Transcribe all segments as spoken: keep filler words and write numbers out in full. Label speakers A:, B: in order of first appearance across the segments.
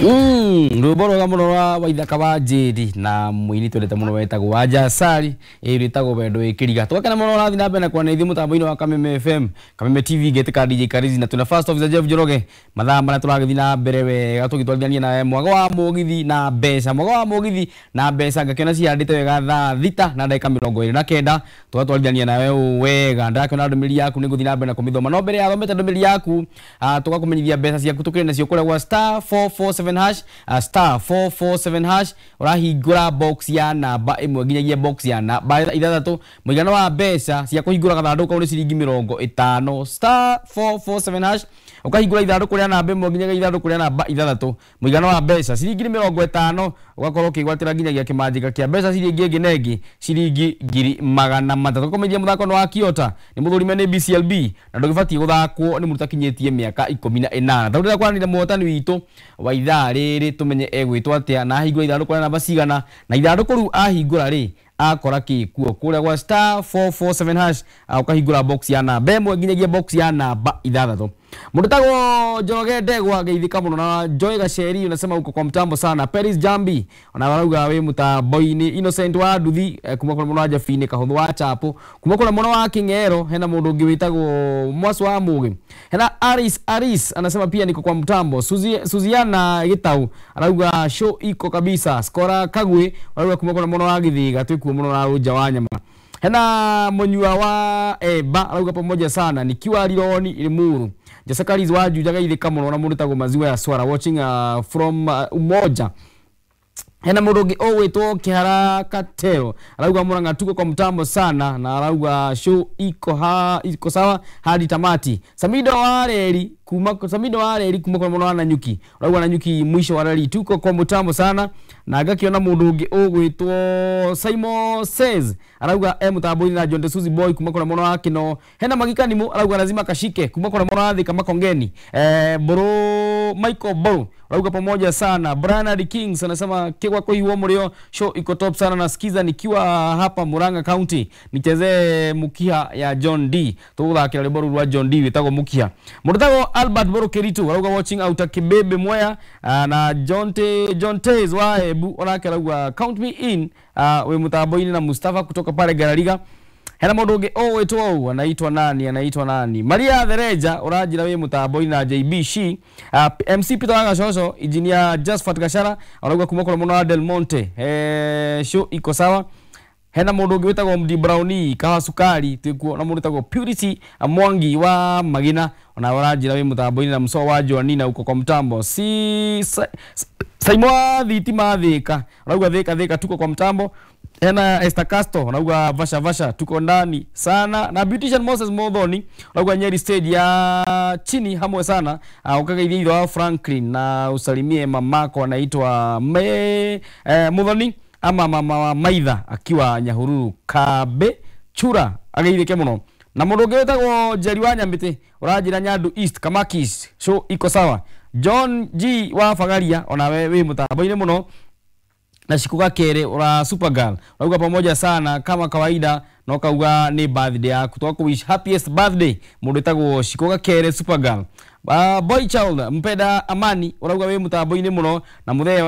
A: Mm, rwĩmbo rwega mũno rwa Waithaka wa Njĩri na mũini twendete mũno wetagwo Wanja Sari, ĩ rwĩtagwo Wendo wĩ Kĩriga. Tũgakena mũno ũrathiĩ na mbere na kwaranĩria ithuĩ mũtambo-inĩ wa Kameme F M, Kameme T V ngĩtĩka D J Karizi na twĩna First Officer Jeff Njoroge. Mathaa marĩa tũragĩthiĩ na mbere wega tũgĩtwarithania nawe mwago wa mũgithi na mbeca, mwago wa mũgithi na mbeca ngakĩona cihandĩte wega thaa thita na ndagĩka mĩrongo ĩrĩ na kenda tũgatwarithania nawe ũũ wega. Ndĩrakĩona ndũmĩrĩri yaku nĩ ngũthiĩ na mbere na kũmĩthoma, no mbere ya thomete ndũmĩrĩri yaku, ah, tũgakũmenyithia mbeca ciaku tũkĩrĩ nacio kũrĩa gwa star four four seven hash, uh, star four four seven hash ũrahingũra box ya namba ĩmwe nginyagia box ya namba ithathatũ. Mũigana wa mbeca cia kũhingũra gathandũkũ kau nĩ ciringi mĩrongo ĩtano. Star four four seven hash ũkahingũra ithandũkũ rĩa namba ĩmwe nginyagia ithandũkũ rĩa namba ithathatũ, mũigana wa mbeca ciringi nĩ mĩrongo ĩtano, ũgakorwo ũkĩgwatĩra nginyagia kĩmanjĩka kĩa mbeca ciringi ĩngĩ na ĩngĩ ciringi ngiri magana matatũ. Kũmenyithia mũthako nĩ wa Kiota nĩ mũthũrime nĩ B C L B na ndũgĩbatiĩ gũthakwo nĩ mũndũ ũtakinyĩtie mĩaka ikũmi na ĩnana. Tondũ ndĩrenda kwaranĩria mũhotani witũ wa ithaa rĩrĩ tũmenye egwĩtwo atĩa na ahingũra ithandũkũ rĩa namba cigana, na ithandũkũ rĩu ahingũra rĩ akora kĩ kuo kũrĩa gwa star four four seven hash, ũkahingũra box ya namba ĩmwe nginyagia box ya namba ithathatũ. Mũndũ tagwo Njoroge Ndegwa geithĩka mũno na Joy Gaceri unasema uko kwa mtambo sana. Paris Jambi ona warauga wĩ mũtambo-inĩ. Innocent wa Nduthi, eh, kuma kũrĩa mũno wa Jabini Kahũthũ wa Chapo, kuma kũrĩa mũno wa King'ero hena mũndũ ũngĩ wĩtagwo Mwasu wa Mũgĩ. Hena Aris Aris anasema pia niko kwa mtambo. Suzi, Suziana Gitau arauga show iko kabisa. Skora Kagwe arauga kuma kũrĩa mũno wa Githiga twĩkuo mũno na Rũnja wa Nyama. Hena Mũnyua wa Eba arauga pamoja sana nikiwa Rironi Limuru. Jessica wa Juja geithĩka mũno na mũndũ tagwo Maziwa ya Swara watching, uh, from, uh, Umoja. Hena mũndũ ũngĩ ũgwĩtwo Kĩhara Katero arauga Murang'a tuko kwa mtambo sana na arauga show iko ha, iko sawa hadi tamati. Samido wa Reri kuma Samido wa Reri kuma kwa mũno wa Nanyuki arauga Nanyuki mwisho wa reri tuko kwa mtambo sana. Na ngakiona mũndũ ũngĩ ũgwĩtwo Simon Says arauga e mũtambo-inĩ na John de Suzy Boy kuma kwa mũno wa Kino. Hena Magika Nimu arauga lazima kashike kuma kwa mũno wa Thika Makongeni. Eh, Bro Michael Bro arauga pamoja sana. Bernard Kings anasema kigwa kwa hiwo mũrĩo show iko top sana, nasikiza nikiwa hapa Murang'a County, nichezee Mukiha ya John D. Tũgũthakĩra rwĩmbo rũu rwa John D wĩtagwo Mukiha. Mũndũ tagwo Albert Boro Keritu arauga watching out Kibebe Mwea, na John T, John Tez wa Ebu onake arauga count me in, uh, wĩ mũtambo-inĩ na Mustafa kutoka pale Garariga. Hena mũndũ ũngĩ ũgwĩtwo ũũ anaitwa nani, anaitwa nani? Maria Thereja ũranjĩra wĩ mũtambo-inĩ na J B C. Uh, M C Peter Wagacoco, Engineer Josephat Gachara arauga kuma kũrĩa mũno wa Del Monte. Eh, show iko sawa. Hena mũndũ ũngĩ wĩtagwo Mdi Brownie Kahawa Sukari twĩkuo na mũndũ wĩtagwo Purity Mwangi wa Magina ona ũranjĩra wĩ mũtambo-inĩ na Muso wa Joanina uko kwa mtambo. Si sa, Saimo wa Thitima Thika arauga Thika Thika tuko kwa mtambo. Hena Esther Castro arauga vasha vasha tuko ndani sana. Na Beautician Moses Modhoni arauga Nyeri stage ya chini hamwe sana. Uh, ukageithia ithe wa Franklin na usalimie mamako anaitwa Me eh, Muthoni ama mama wa Maitha akiwa Nyahururu Kabe Chura ageithike muno. Na mũndũ ũngĩ wĩtagwo Njeri wa Nyamĩtĩ ũranjĩra Nyandu East Kamakis show iko sawa. John G wa Bagaria onawe wĩ mũtambo-inĩ mũno. Na Shiku Gakere ura Supergirl urauga pamoja sana kama kawaida, no kauga ni birthday yaku twaku wish happiest birthday mundu etagwo Shiku Gakere Supergirl. Uh, boy child mpenda amani urauga wi mutambo-ini muno na muthe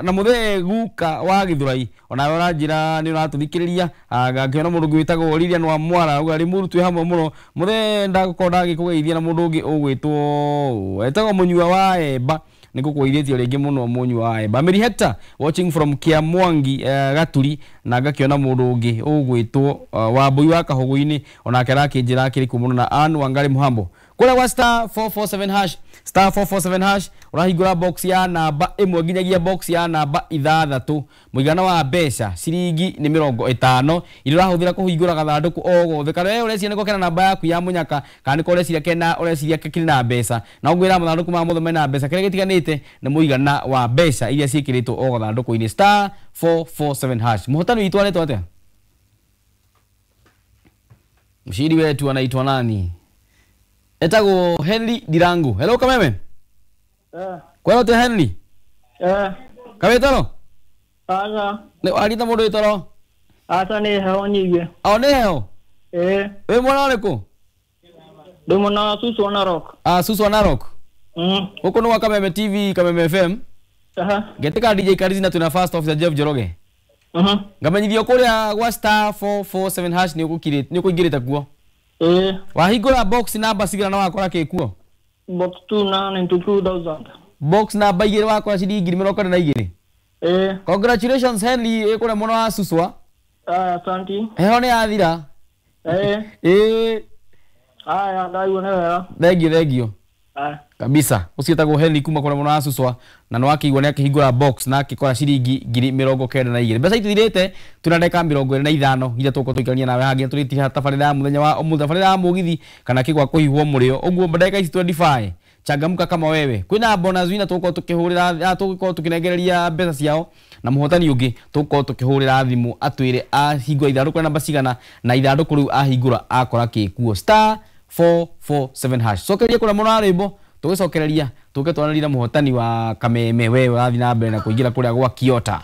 A: na muthe guka wa Githurai ona uranjira ni uratuthikiriria. Ngakiona mundu ungi witagwo Lilian wa Mwara urauga Limuru twi hamwe muno muthe ndagukorwo ndagikugeithia na mundu ungi ugwitwo etagwo Munyua wa Emba nigukuithĩtie rĩngĩ mũno Munyua wa Emba. Mary Hector watching from Kiamwangi uh, Gaturi na ngakiona mundu ungi ugwitwo uh, Wambui wa Kahugu-inĩ onake arakĩnjĩra akĩrĩ kuo mũno na Ann Wangari Muhambo. Kũrĩa gwa star four four seven hash, star four four seven hash ũrahingũra box ya namba ĩmwe nginyagia box ya namba ithathatũ. Mũigana wa mbeca ciringi nĩ mĩrongo ĩtano iria ũrahũthĩra kũhingũra gathandũkũ o gothe kana we ũreciria nĩko kena namba yaku ya mũnyaka kana nĩko ũreciria kena ũreciria kĩrĩ na mbeca na ũngwĩra mathandũkũ ma mothe mena mbeca kĩrĩa gĩtiganĩte nĩ mũigana wa mbeca iria ciĩkĩrĩtwo o gathandũkũ-inĩ star four four seven hash. Mũhotani witũ aretwo atĩa? Mshindi wetu anaitwa nani? Etagwo Henry Dirangu. Hello Kameme.
B: Eh.
A: Kwero te Henry?
B: Eh.
A: Kawetoro?
B: Aca.
A: Ne arita mundu witoro?
B: Aca ni heho nyingi.
A: O ni heho?
B: Eh.
A: Wi mwana uriku?
B: Ndi mwana wa Susu wa Narok.
A: Ah, Susu wa Narok.
B: Mm.
A: Huko ni wa Kameme T V, Kameme F M.
B: Aha.
A: Ngetika D J Karizi na twina first officer Jeff Njoroge.
B: Mhm.
A: Ngamenyithio kuria gwa star four four seven hash ni ukukirite ni ukuingirite kuo.
B: Ĩĩ.
A: Wahingura box namba cigana na wakora kĩ kuo?
B: Box two na ninety two thousand.
A: Box namba igĩrĩ wakora ciringi ngiri mĩrongo ĩna na igĩrĩ.
B: Ĩĩ.
A: Congratulations Henry ĩ kũrĩa mũno wa Suswa.
B: Aya, asante.
A: Heho nĩ yathira.
B: Ĩĩ.
A: Ĩĩ.
B: Aya, ndaigua nĩ wega.
A: Thengio, thengio.
B: Aya.
A: Kabisa. Ũcio etagwo Henry kuma kũrĩa mũno wa Suswa na nĩ wakĩigua nĩ akĩhingũra box na akĩkora ciringi ngiri mĩrongo kenda na igĩrĩ. Mbeca itithirĩte, twĩna ndagĩka mĩrongo ĩrĩ na ithano iria tũgũkorwo tũikarania nawe haha nginya tũrĩtiha tabarĩra ya mũthenya wa ũmũthĩ, tabarĩra ya mũgithi kana kĩgwa kũhihwo mũrĩo. Ũguo ndagĩka ici twenty-five changamka kama wewe. Kwĩna bonus winner tũgũkorwo tũkĩhũrĩra, ah, tũgũkorwo tũkĩnengereria mbeca ciao na mũhotani ũngĩ tũgũkorwo tũkĩhũrĩra thimũ atwĩre ahingũra ithandũkũ rĩa namba cigana na ithandũkũ rĩu ahingũra akora kĩkuo. Star four four seven hash. Cokeria kũrĩa mũno wa rwĩmbo tũgĩcokereria tũke twaranĩrie na mũhotani wa Kameme wewe ũrathiĩ na mbere na kũingĩra kũrĩa gwa Kiota.